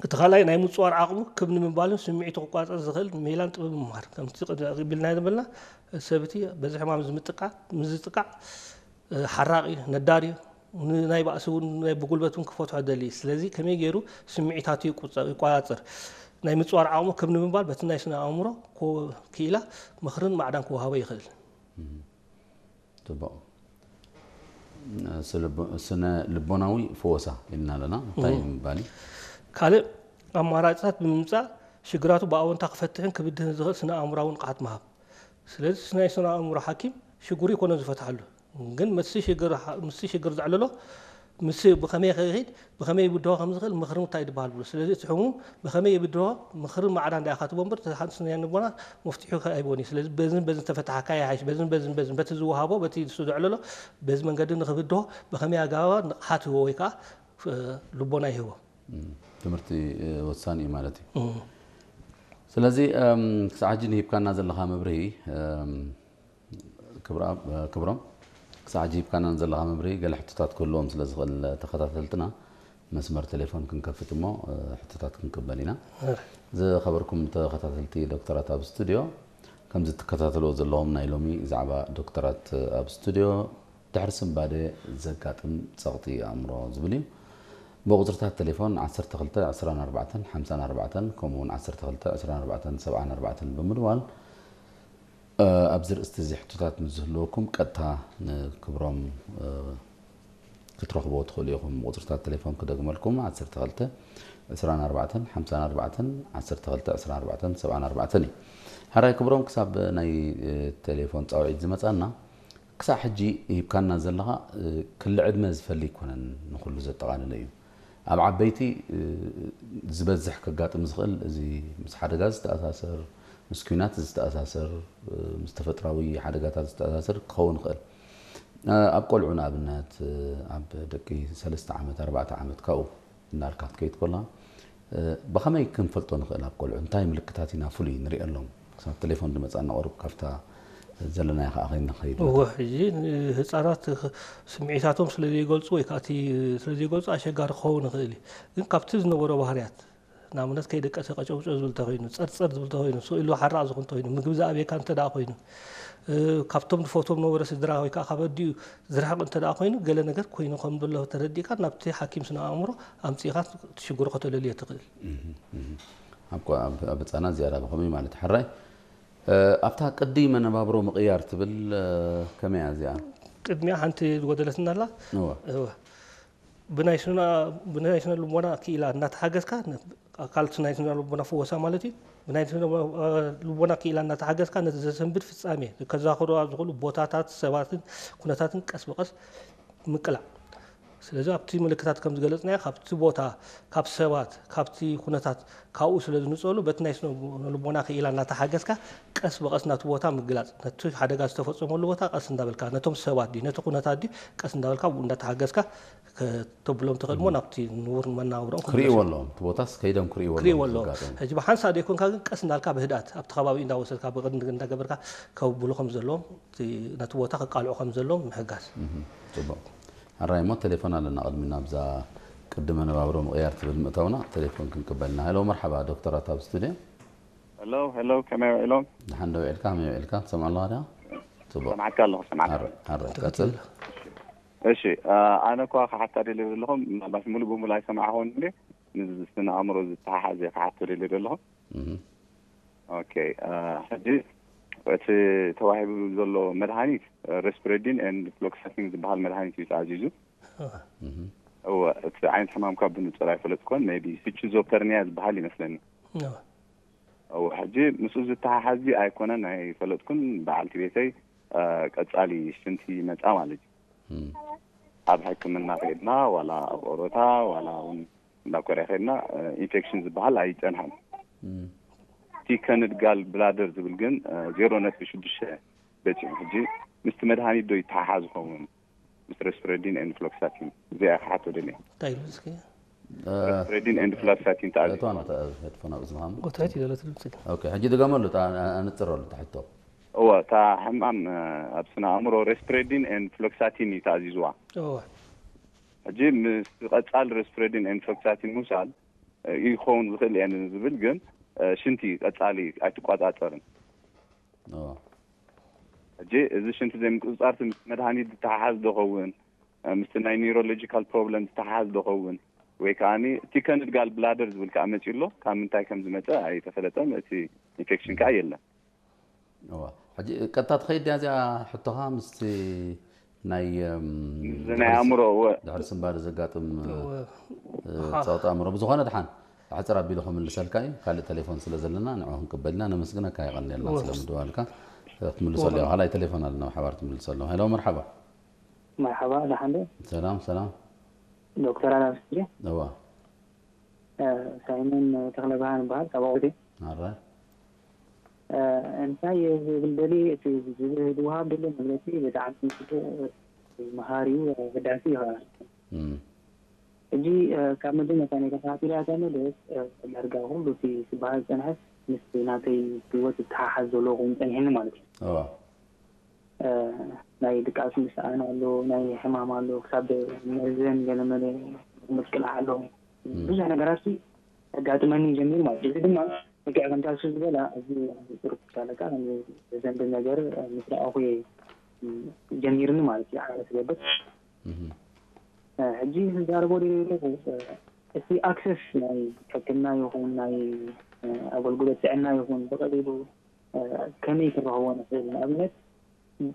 እቲ ካልኣይ ናይ ምፅዋር ዓቕሙ ክብ ንምባልን ስምዒቱ ክቋፀር ዝኽእል ሜላን ጥበብ ምምሃር። ከምቲ ቢልና ዝበልና፣ ሰብቲ በዚ ሕማም ዝምጥቃ ምዝጥቃዕ፣ ሓራቂ፣ ነዳሪ፣ ናይ ባእሲ እውን ናይ ብጉልበት እውን ክፈትሖ ደሊ። ስለዚ ከመይ ገይሩ ስምዒታቱ ይቆፃፀር፣ ናይ ምፅዋር ዓቕሙ ክብ ንምባል በቲ ናይ ስነ ኣእምሮ ክኢላ ምኽርን ማዕዳን ክወሃቦ ይኽእል። ፅቡቕ። ስነ ልቦናዊ ፈወሳ ኢልና ኣለና። እንታይ ምባል እዩ? ካልእ ኣማራፅታት ብምምፃእ ሽግራቱ ብኣወንታ ክፈትሕን ክብድህን ዝኽእል ስነ ኣእምራዊ ንቕሓት ምሃብ። ስለዚ ናይ ስነ ኣእምሮ ሓኪም ሽግሩ ይኮነ ዝፈትሓሉ፣ ግን ምስ ሽግር ዘዕልሎ ምስ ብኸመይ ከይድ ብኸመይ ይብድሆ ከም ዝኽእል ምኽሪ ምታይ ድበሃል ብሎ። ስለዚ እቲ ሕሙም ብኸመይ ይብድሆ ምኽሪ ማዕዳ እንዳያ ካትቦ እምበር ሓንቲ ስነ ልቦና መፍትሒ ኣይቦን እዩ። ስለዚ በዝን በዝን ተፈታሓካ ይሓይሽ፣ በዝን በዝን በዝን በቲ ዝወሃቦ በቲ ንሱ ዘዕለሎ በዚ መንገዲ ንኽብድሆ ብኸመይ ኣገባባ ንቕሓት ህቦ ወይ ከዓ ልቦና ይህቦ። ትምህርቲ ወሳኒ እዩ ማለት እዩ። ስለዚ ክሳዕ ሕጂ ንሂብካና ዘለኻ መብርሂ ክብሮም፣ ክሳዕ ሕጂ ሂብካና ዘለኻ መብርሂ ገለ ሕቶታት ክህልዎም ስለ ዝኽእል ተኸታተልትና መስመር ቴሌፎን ክንከፍት እሞ ሕቶታት ክንቅበል ኢና። ዝኸበርኩም ተኸታተልቲ ዶክተራት ኣብ ስቱድዮ፣ ከምዚ ትከታተልዎ ዘለኹም ናይ ሎሚ ዛዕባ ዶክተራት ኣብ ስቱድዮ ድሕሪ ስንባደ ዘጋጥም ጸቕጢ ኣእምሮ ዝብል እዩ። ብቁጽርታት ቴሌፎን ዓሰርተ ክልተ ዕስራን ኣርባዕተን ሓምሳን ኣርባዕተን ከምኡ እውን ዓሰርተ ክልተ ዕስራን ኣርባዕተን ሰብዓን ኣርባዕተን ብምድዋል ኣብዚ ርእስቲ እዚ ሕቶታት ምስ ዝህልወኩም ቀጥታ ንክብሮም ክትረኽብዎ ትኽእሉ ኢኹም። ቁፅርታት ቴሌፎን ክደግመልኩም፣ ዓሰርተ ክልተ ዕስራን ኣርባዕተን ሓምሳን ኣርባዕተን ዓሰርተ ክልተ ዕስራን ኣርባዕተን ሰብዓን ኣርባዕተን እዩ። ሕራይ ክብሮም፣ ክሳብ ናይ ቴሌፎን ፃውዒት ዝመፃና ክሳብ ሕጂ ሂብካና ዘለኻ ክሊ ዕድመ ዝፈሊ ኣይኮነን፣ ንኹሉ ዘጠቓለለ እዩ። ኣብ ዓበይቲ ዝበዝሕ ከጋጥም ዝኽእል እዚ ምስ ሓደጋ ዝተኣሳሰር፣ ምስ ኲናት ዝተኣሳሰር፣ ምስ ተፈጥራዊ ሓደጋታት ዝተኣሳሰር ክኸውን ይኽእል። ኣብ ቆልዑ ንኣብነት ኣብ ደቂ ሰለስተ ዓመት ኣርባዕተ ዓመት ካብኡ እናልካ ክትከይድ ኮላ ብኸመይ ክንፈልጦ ንኽእል? ኣብ ቆልዑ እንታይ ምልክታት ኢና ፍሉይ ንሪኤሎም? ክሳብ ቴሌፎን ዝመፃና ቁሩብ ካብታ ዘለናዮ ከዓ ከይንኸይድ እወ። ሕጂ ንህፃናት ስምዒታቶም ስለ ዘይገልፁ ወይ ከዓ እቲ ስለ ዘይገልፁ ኣሸጋሪ ክኸውን ይኽእል እዩ። ግን ካብቲ ዝነበሮ ባህርያት ንኣብነት ከይደቀሰ ቀጨውጨው ዝብል እንተኮይኑ፣ ፀርፀር ዝብል እንተኮይኑ፣ ስቕ ኢሉ ሓራቕ ዝኹን እንተኮይኑ፣ ምግቢ ዝኣብየካ እንተ ደኣ ኮይኑ፣ ካብቶም ዝፈትዎም ነበረ ስድራ ወይ ከዓ ካብ ኣዲኡ ዝርሕቕ እንተ ደኣ ኮይኑ፣ ገለ ነገር ኮይኑ ከም ዘሎ ተረዲእካ ናብቲ ሓኪም ስነ ኣእምሮ ኣምፂእካ እቲ ሽግሩ ከተለልዮ ትኽእል። ኣብ ህፃናት ዝያዳ ብኸመይ ማለት ሕራይ ኣብታ ቅዲ መነባብሮ ምቕያር ትብል ከመይ እያ እዚኣ? ቅድሚያ ሓንቲ ዝጎደለትና ኣላ። እወ። እወ። ብናይ ስነ ብናይ ስነ ልቦና ክኢላ እናተሓገዝካ ኣካል ናይ ስነ ልቦና ፍወሳ ማለት እዩ። ብናይ ስነ ልቦና ክኢላ እናተሓገዝካ ነቲ ዘሰንብድ ፍጻሜ ከዛኽሩ ኣብ ዝኽእሉ ቦታታት፣ ሰባትን ኩነታትን ቀስ ብቐስ ምቅላዕ። ስለዚ ኣብቲ ምልክታት ከም ዝገለጽናዮ ካብቲ ቦታ፣ ካብ ሰባት፣ ካብቲ ኩነታት ካብኡ ስለ ዝንጸሉ በቲ ናይ ስነ ልቦና ክኢላ እናተሓገዝካ ቀስ ብቐስ ናቱ ቦታ ምግላጽ፣ ነቲ ሓደጋ ዝተፈጸመሉ ቦታ ቀስ እንዳበልካ፣ ነቶም ሰባት ድዩ ነቲ ኩነታት ድዩ ቀስ እንዳበልካ ብኡ እንዳተሓገዝካ ከተብሎም ትኽእል እሞ ናብቲ ንቡር መናብሮኦም ክምለሱ ክርእይዎ ኣለዎም። እቲ ቦታስ ከይዶም ክርእይዎ ክርእይዎ ኣለዎም። ኣለዎም። ሕጂ ብሓንሳእ ዘይኮንካ ግን ቀስ እንዳልካ ብህድኣት ኣብቲ ከባቢ እንዳወሰድካ ብቕድሚ እንዳገበርካ ከብብሉ ከም ዘለዎም ነቲ ቦታ ከቃልዑ ከም ዘለዎም ምሕጋዝ። ፅቡቕ። ሕራይ እሞ ቴሌፎን ኣለና ቅድሚ ናብዛ ቅዲ መነባብሮ ምቕያር ትብል ምእታውና ቴሌፎን ክንቅበልና። ሄሎ መርሓባ ዶክተራት ኣብ ስቱድዮ። ሄሎ ሄሎ፣ ከመይ ውዒሎም? ደሓን ዶ ውዒልካ? ከመይ ውዒልካ? ትሰምዖ ኣለኻ ድኣ? ጽቡቕ። ሰምዓካ ኣለኹ፣ ሰምዓካ። ኣረ፣ ኣረ፣ ቀጽል። ቀጽል። እሺ፣ ኣነ እኳ ክሓታ ደልየ ዘለኹ፣ ምናልባት ሙሉእ ብሙሉእ ኣይሰማዕኹዎን እየ። ምስ ስነ ኣእምሮ ዝተሓሓዘ ክሓቶ ደልየ ዘለኹ። እህ። ኦኬ፣ ሕጂ እቲ ተዋሂቡ ዘሎ መድሃኒት ሬስፕሬዲን ኤንድ ፍሎክሳሲን ዝበሃል መድሃኒት እዩ ተኣዚዙ። እህ። እወ፣ እቲ ዓይነት ሕማምካ ብንጹር ኣይፈለጥኩዎን፣ ሜይቢ ስቺዞፐርኒያ ዝበሃል ይመስለኒ። እወ። እወ፣ ሕጂ ምስኡ ዝተሓሓዝ ድዩ ኣይኮነን ኣይፈለጥኩን። በዓልቲ ቤተይ ቀጻሊ ሽንቲ ይመጻ ማለት እዩ። ኣብ ሕክምና ከይድና ዋላ ኣብ ኦሮታ ዋላ እውን እንዳ ኮርያ ከይድና ኢንፌክሽን ዝበሃል ኣይጸንሐን። እቲ ከንድ ጋል ብላደር ዝብል ግን ዜሮ ነጥቢ ሽዱሽተ በጺሑ። ሕጂ ምስቲ መድሃኒት ዶ ይተሓሓዝ ይኸውን? ምስ ሬስፕሬዲን ኤንድ ፍሎክሳቲን እዚኣ ክሓቶ ደልየ። እንታይ ኢሉ እስኪ? ሬስፕሬዲን ኤንድ ፍሎክሳቲን ተኣዚዙ እቶ ማለት ነተ ሄድፎን ኣብ እዝንኻ እሞ። ጎታይት ይደለት ድምፂ። ኦኬ፣ ሕጂ ድገመሉ እታ ኣንፅረሉ እታ ሕቶ። እወ፣ እታ ሕማም ኣብ ስነ ኣእምሮ ሬስፕሬዲን ኤንድ ፍሎክሳቲን እዩ ተኣዚዝዋ። እወ። ሕጂ ምስ ቀጻሊ ሬስፕሬዲን ኤንፍሎክሳቲን ምውሳድ ይኸውን ዝኽእል እየን ዝብል ግን ሽንቲ ቀጻሊ ኣይትቆጻጸርን። ሕጂ እዚ ሽንቲ ዘይምቁጽጻር ምስ መድሃኒት ዝተሓሓዝ ዶ ኸውን፣ ምስቲ ናይ ኒውሮሎጂካል ፕሮብለም ዝተሓሓዝ ዶ ኸውን፣ ወይ ከዓ ቲከንድ ጋል ብላደር ዝብል ከዓ መፂኡ ኣሎ። ካብ ምንታይ ከም ዝመፀ ኣይተፈለጠን። እቲ ኢንፌክሽን ከዓ የለን። ሕጂ ቀጥታ ትኸይድ ድያ እዚኣ ሕቶኻ ምስቲ ናይ ናይ ኣእምሮ ድሕሪ ስንባደ ዘጋጥም ፀቕጢ ኣእምሮ ብዝኾነ ድሓን ኣሕፅር ኣቢሉ ክምልሰልካ እዩ። ካልእ ቴሌፎን ስለ ዘለና ንዑ ክንቅበል ኢና። ነመስግነካ፣ የቐንየልና ስለ ምድዋልካ። ክትምልሰሉ ኢኻ። ካልኣይ ቴሌፎን ኣለና ብሓባር ትምልሰሉ። ሄሎ፣ መርሓባ። መርሓባ፣ ደሓን ዶ? ሰላም ሰላም። ዶክተር ኣላምስቲ እዋ ሳይመን ተኽለብርሃን ይበሃል፣ ካብ ኣቑቴ። ኣረ እንታይ ዝብል ደሊ እቲ ዝወሃብ ደሎ መግለፂ ብጣዕሚ ፅቡቅ፣ መሃሪዩ፣ ኣገዳሲ እዩ። ሕጂ ካብ መጀመርታ ናይ ተኸታቲላ እታ መደብ ዳርጋ ኩሉ እቲ ዝበሃል ዝፀንሐ ምስ ናተይ ህይወት ዝተሓሓዝ ዘሎ ኮይኑ ፀኒሕኒ ማለት እዩ። እዋ ናይ ድቃስ ምስኣን ኣሎ፣ ናይ ሕማም ኣሎ፣ ክሳብ መርዘን ገለመለ ምቅላዕ ኣሎ። ብዙሕ ነገራት ኣጋጥመኒ ጀሚሩ ማለት እዩ። እዚ ድማ ልክዕ ከምታ እሱ ዝበላ ኣብዚ ቁሩብ ክሳለካ ዘንብል ነገር ምስ ረኣኹ እየ ጀሚርኒ ማለት እዩ። ዓረ ትገብር ሕጂ ዝዛረቦ ደለ ዘለኹ እቲ ኣክሰስ ናይ ሕክምና ይኹን ናይ ኣገልግሎት ጥዕና ይኹን ብቐሊሉ ከመይ ክረኽቦ ንኽእል? ንኣብነት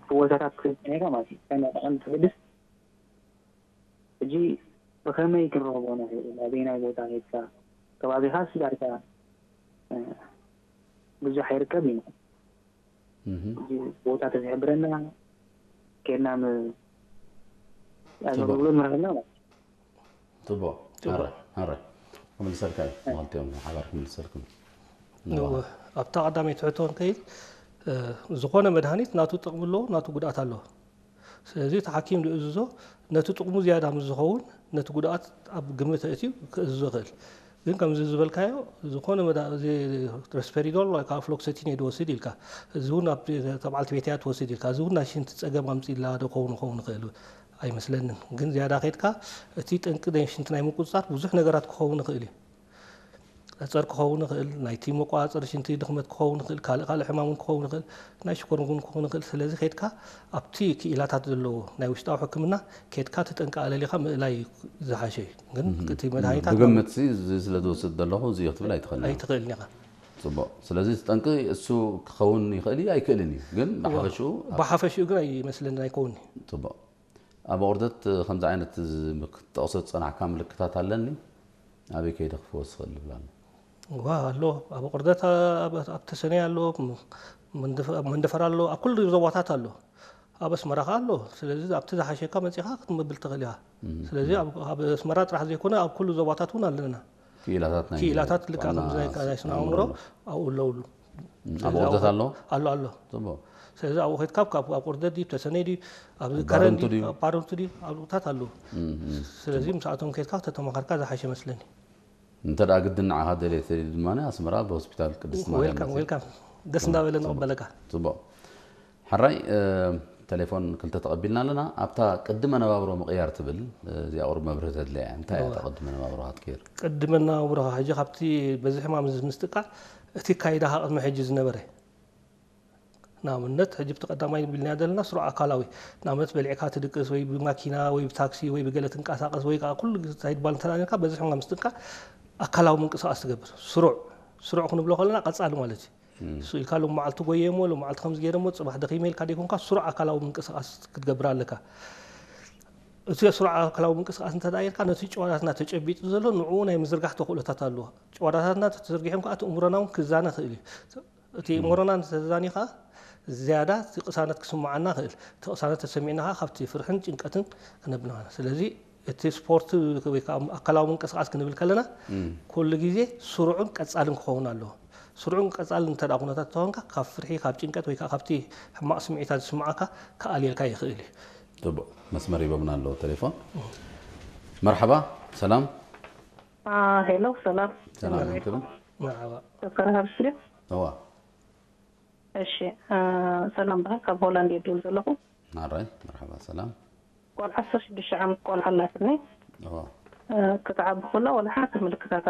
ብቦታታት ክትብል ኔርካ ማለት እዩ። ከመይ ጠቐም ትብልስ ሕጂ ብኸመይ ክንረኽቦ ንኽእል? ኣበይናይ ቦታ ሄድካ ከባቢኻስ ዳርጋ ብዙሕ ኣይርከብ እዩ። ሕጂ ቦታ ተዝሕብረና ኬድና ም- ኣገልግሎት ንረኽበና ማለት እዩ። ፅቡቅ። ኣረ ኣረ ክምልሰልካ እዩ። መክልቲኦም ሓባር ክምልሰልኩም። ኣብታ ቀዳመይቲ ሕቶ እንከይድ ዝኾነ መድሃኒት ናቱ ጥቕሚ ኣለዎ፣ ናቱ ጉድኣት ኣለዎ። ስለዚ እቲ ሓኪም ዝእዝዞ ነቲ ጥቕሙ ዝያዳ ምስ ዝኸውን ነቲ ጉድኣት ኣብ ግምት ኣእትዩ ክእዝዞ ይኽእል። ግን ከምዚ ዝበልካዮ ዝኾነ መዳ- እዚ ሬስፔሪዶል ወይ ከዓ ፍሎክሰቲን እየ ዝወስድ ኢልካ፣ እዚ እውን ኣብ ተባዕልቲ ቤት እያ ትወስድ ኢልካ፣ እዚ እውን ናይ ሽንቲ ፀገም ኣምፅእላ ዶ ክኸውን ክኸውን ይኽእል ኣይመስለንን። ግን ዝያዳ ከይድካ እቲ ጠንቂ ናይ ሽንቲ ናይ ምቁፅፃር ብዙሕ ነገራት ክኸውን ይኽእል እዩ። ጸር ክኸውን ይኽእል፣ ናይቲ መቆጻጸሪ ሽንቲ ድኽመት ክኸውን ይኽእል፣ ካልእ ካልእ ሕማም እውን ክኸውን ይኽእል፣ ናይ ሽኮር እውን ክኸውን ይኽእል። ስለዚ ከድካ ኣብቲ ክኢላታት ዘለዎ ናይ ውሽጣዊ ሕክምና ከድካ እቲ ጠንቂ ኣለሊኻ ምእላይ ዝሓሸ እዩ። ግን እቲ መድሃኒታት ብግምት ሲ እዚ ስለ ዝወስድ ዘለኹ እዚ እዩ ክትብል ኣይትኽእልን። ኣይትኽእልን ኢኻ። ጽቡቕ። ስለዚ እቲ ጠንቂ እሱ ክኸውን ይኽእል እዩ ኣይክእልን እዩ። ግን ብሓፈሽኡ ብሓፈሽኡ ግን ኣይመስለንን ኣይከውንን እዩ። ጽቡቕ። ኣብ ኣቑርደት ከምዚ ዓይነት ክትጠቕሶ ዝጸናሕካ ምልክታት ኣለኒ፣ ኣበይ ከይደ ክፍወስ ይኽእል ይብል ኣሎ። ዋ ኣሎ፣ ኣብ ኣቑርደት ኣብ ተሰነይ ኣሎ፣ መንደፈራ ኣሎ፣ ኣብ ኩሉ ዞባታት ኣሎ። ኣብ ኣስመራ ከ ኣሎ። ስለዚ ኣብቲ ዝሓሸካ መጺኻ ክትምብል ትኽእል ኢኻ። ስለዚ ኣብ ኣስመራ ጥራሕ ዘይኮነ ኣብ ኩሉ ዞባታት እውን ኣለና። ክኢላታት ናይ ክኢላታት ልክዕ ከምዚ ናይ ስነ ኣእምሮ ኣብኡ ኣለውሉ። ኣብ ቁርደት ኣሎ። ኣሎ ኣሎ። ጽቡቕ። ስለዚ ኣብኡ ከድካ ካብ ኣብ ቁርደት ድዩ ተሰነይ ድዩ ኣብ ኣብ ከረን ባረንቱ ድዩ ድዩ? ኣብ ባረንቱ ድዩ ኣብ ቁታት ኣለዉ። ስለዚ ምስኣቶም ከድካ ተተማኸርካ ዝሓሸ መስለኒ። እንተ ደኣ ግድን ንዓኻ ደልየ ተልዩ ድማ ኣስመራ ኣብ ሆስፒታል ቅድስቲ ማርያም ዌልካም ዌልካም። ደስ እንዳበለ ንቕበለካ። ጽቡቕ። ሕራይ ቴሌፎን ክልተ ተቐቢልና ኣለና። ኣብታ ቅዲ መነባብሮ ምቕያር ትብል እዚኣ ቁሩብ መብርሂ ተድልያ እያ። እንታይ እያ እታ ቅዲ መነባብሮ ክትቅይር? ቅዲ መነባብሮኻ ሕጂ ካብቲ በዚ ሕማም እዚ ምስጥቃዕ እቲ ካይዳኻ ቅድሚ ሕጂ ዝነበረ ንኣብነት ሕጂ ብቲ ቀዳማይ ቢልናያ ዘለና ስሩዕ ኣካላዊ ንኣብነት በሊዕካ ትድቅስ ወይ ብማኪና ወይ ብታክሲ ወይ ብገለ ትንቀሳቀስ ወይ ከዓ ኩሉ ግዜ እንታይ ትባል እንተደኣ ነርካ በዚ ሕማም ምስጥቃዕ ኣካላዊ ምንቅስቃስ ትገብር ስሩዕ ስሩዕ ክንብሎ ከለና ቀጻሊ ማለት እዩ። እሱ ኢልካ ሎም መዓልቲ ጎየሞ ሎም መዓልቲ ከምዚ ገይረሞ ጽባሕ ደኺመ ኢልካ ደይኮንካ ስሩዕ ኣካላዊ ምንቅስቃስ ክትገብር ኣለካ። እቲ ስሩዕ ኣካላዊ ምንቅስቃስ እንተ ደኣ ጌርካ ነቲ ጭዋዳትና ተጨቢጡ ዘሎ ንዕኡ ናይ ምዝርጋሕ ተኽእሎታት ኣለዎ። ጭዋዳታትና ተተዘርጊሖም ከዓ እቲ እምሮና እውን ክዛነ ይኽእል እዩ። እቲ እምሮና እንተተዛኒኻ ዝያዳ እቲ ቅሳነት ክስምዓና ይኽእል። እቲ ቅሳነት ተሰሚዕና ከዓ ካብቲ ፍርሕን ጭንቀትን ክነብና። ስለዚ እቲ ስፖርት ወይ ከዓ ኣካላዊ ምንቅስቃስ ክንብል ከለና ኩሉ ግዜ ስሩዕን ቀጻልን ክኸውን ኣለዎ። ስሩዕን ቀጻልን እንተ ኩነታት ተኾንካ ካብ ፍርሒ ካብ ጭንቀት ወይ ከዓ ካብቲ ሕማቕ ስምዒታት ዝስምዓካ ክኣልየልካ ይኽእል እዩ። ጽቡቕ መስመር ሂቦምና ኣለዉ ቴሌፎን። መርሓባ ሰላም። ሄሎ ሰላም። ሰላም ይክብን። መርሓባ። ዶክተር ሃብስልዮ እዋ እሺ። ሰላም በሃል ካብ ሆላንድ እየ ድውል ዘለኹ። ናራይ መርሓባ ሰላም። ቆልዓ ዓሰርተ ሽዱሽተ ዓመት ቆልዓ ኣላትኒ። እዋ። እ፣ ክትዓቢ ከላ ዋላ ሓንቲ ምልክታት